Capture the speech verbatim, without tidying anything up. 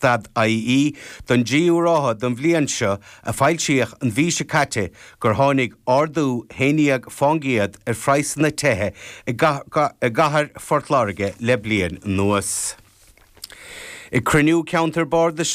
dot IE don dtríú ráithe den bhliain seo a foilsíodh an mhí seo caite gur tháinig ardú haon déag faoin gcéad ar phraghsanna tithe i gcathair Phort Láirge le bliain anuas. Ag cruinniú ceantar bardais